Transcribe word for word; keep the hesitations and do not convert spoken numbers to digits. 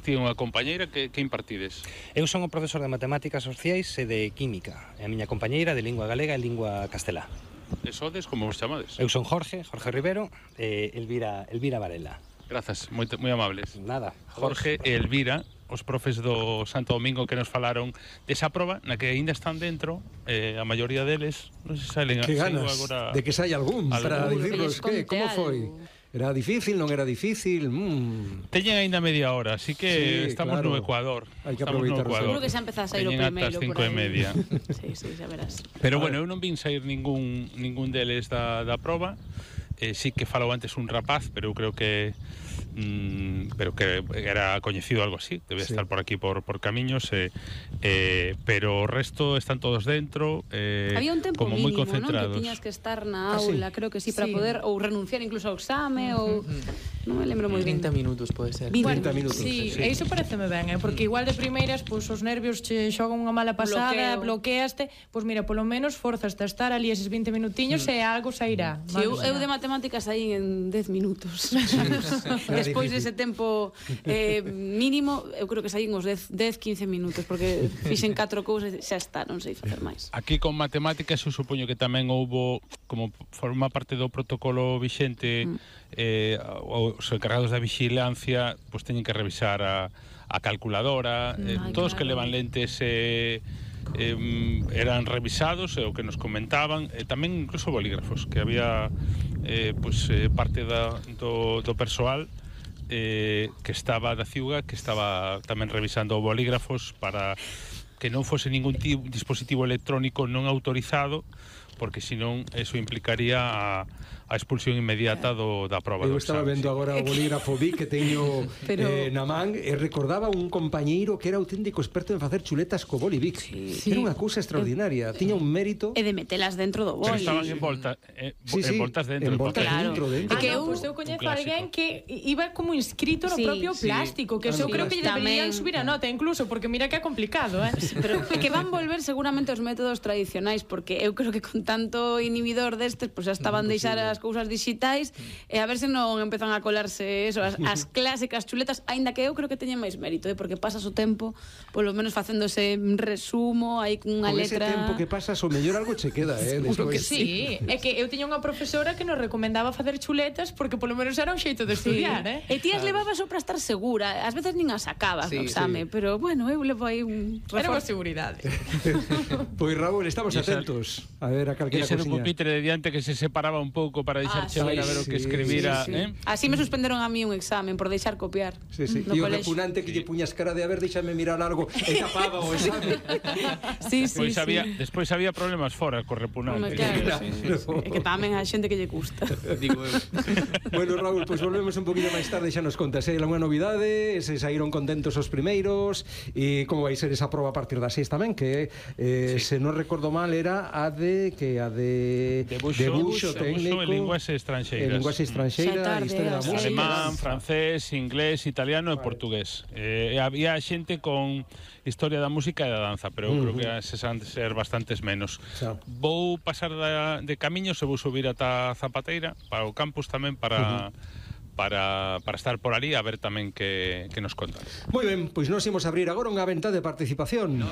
ti unha compañeira que, que impartides? Eu son o profesor de Matemáticas Sociais e de Química, e a miña compañeira de Lingua Galega e Lingua Castelá. E sodes, como vos chamades? Eu son Jorge, Jorge Rivero e Elvira, Elvira Varela. Grazas, moi, moi amables. Nada. Jorge e Elvira, os profes do Santo Domingo que nos falaron desa proba, na que aínda están dentro, eh, a maioría deles, non se salen que ganas agora... de que sai algún, algún. para dicirnos que, como foi? Era difícil, non era difícil? Mm. Teñen aínda media hora, así que sí, estamos claro. no Ecuador. Hai que estamos no aproveitar. Ecuador. Seguro que xa empezás a ir o Teñen primeiro ata as por cinco e aí. media. Sí, sí, xa verás. Pero bueno, eu non vin sair ningún ningún deles da, da proba. Eh, sí que falou antes un rapaz, pero eu creo que mm, pero que era coñecido algo así, debe sí. estar por aquí por, por camiños, eh, eh, pero o resto están todos dentro, eh, había un tempo como mínimo, moi concentrados. Non? Que tiñas que estar na Ah, aula, sí? creo que sí, para Sí. poder ou renunciar incluso ao exame ou non me lembro moi ben. trinta minutos pode ser. trinta minutos. Sí, sí. e iso pareceme ben, eh? Porque igual de primeiras, pois os nervios che xogan unha mala pasada, Bloqueo. bloqueaste, pois mira, polo menos forzaste a estar ali eses vinte minutiños e algo sairá. Sí, eu, eu de matemáticas aí en dez minutos. Era Despois difícil. dese tempo eh, mínimo, eu creo que saín uns dez, quince minutos, porque fixen catro cousas e xa está, non sei facer máis. Aquí con matemáticas eu supoño que tamén houbo, como forma parte do protocolo vixente, mm. eh, os encargados da vixilancia pues teñen que revisar a, a calculadora, eh, Ay, todos claro. que levan lentes eh, eh, eran revisados, é o que nos comentaban, e tamén incluso bolígrafos, que había eh, pues, eh, parte da, do, do persoal eh, que estaba da ciuga, que estaba tamén revisando bolígrafos para que non fose ningún tipo, dispositivo electrónico non autorizado, porque senón eso implicaría a, a expulsión inmediata do, da proba Eu do estaba exame. vendo agora o bolígrafo Vic que teño Pero... eh, na man e recordaba un compañeiro que era auténtico experto en facer chuletas co boli Vic. Sí. Era unha cousa extraordinaria, tiña un mérito. E de metelas dentro do Pero boli. estaban envolta, eh, Sí, sí, envoltas dentro. envoltas porque- dentro, dentro. Ah, que no, eu- pois eu coñezo un clásico. alguén que iba como inscrito no Sí, propio sí. plástico, que Ah, eso no, creo que lle tamén. deberían subir a nota incluso, porque mira que é complicado, eh? Pero que van volver seguramente os métodos tradicionais, porque eu creo que con tanto inhibidor destes, pois pues, xa estaban deixar as cousas digitais e a ver se non empezan a colarse eso, as, as clásicas chuletas, aínda que eu creo que teñen máis mérito, eh, porque pasas o tempo polo menos facéndose un resumo aí cunha Con letra. ese tempo que pasas, o mellor algo che queda, eh, Seguro que despois. sí, é que eu tiña unha profesora que nos recomendaba facer chuletas porque polo menos era un xeito de estudiar, eh? E ti as levabas só para estar segura, ás veces nin as sacabas Sí, no exame, sí. pero bueno, eu levo aí un Era unha reforzo. seguridade. Pois Raúl, estamos E esa- atentos a ver a E calquera ese no cosiña. pupitre de diante que se separaba un pouco para deixar Ah, chegar sí. a ver o que Sí, escribira, Sí, sí. eh? Así me suspenderon a mí un examen por deixar copiar. Sí, sí. No E o colexio. repunante que lle puñas cara de a ver, déxame mirar algo e tapaba o exame. Sí, sí, Despois sí. había, despois había problemas fora co repunante. Home, claro, Sí, sí, sí. É que tamén a xente que lle gusta. Digo eu. Bueno, Raúl, pois pues volvemos un poquinho máis tarde, xa nos contas, eh, algunha novidade, se saíron contentos os primeiros e como vai ser esa proba a partir das seis tamén, que eh, Sí. se non recordo mal era a de que a de Debuxo, debuxo debuxo técnico e linguas estranxeiras. e linguaxe Xa estranxeira, tarde, historia da así. música. Alemán, francés, inglés, italiano e portugués. Eh, había xente con historia da música e da danza, pero eu Uh-huh. creo que se han de ser bastantes menos. Xa. Vou pasar da, de camiños e vou subir ata Zapateira para o campus tamén para uh-huh. para, para estar por ali a ver tamén que, que nos contan. Moi ben, pois nós imos abrir agora unha venta de participación.